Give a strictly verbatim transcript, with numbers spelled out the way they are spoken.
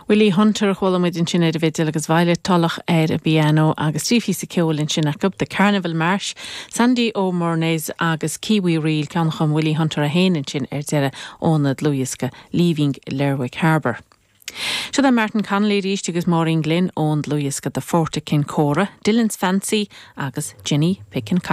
Willie Hunter chuala muid ansin ar an bhfidil agus Violet Tulloch ar an bpianó agus trí phíosa ceoil ansin acu The Carnival March, Sandy O'Mornay's agus Kiwi Reel ceann a chum Willie Hunter é féin ansin ar deireadh óna dhlúthdhiosca Leaving Lerwick Harbour. Seo é Martin Connolly arís agus Maureen Glynn ón dlúthdhiosca The Fort at Kincora, Dylan's Fancy agus Jenny Pickin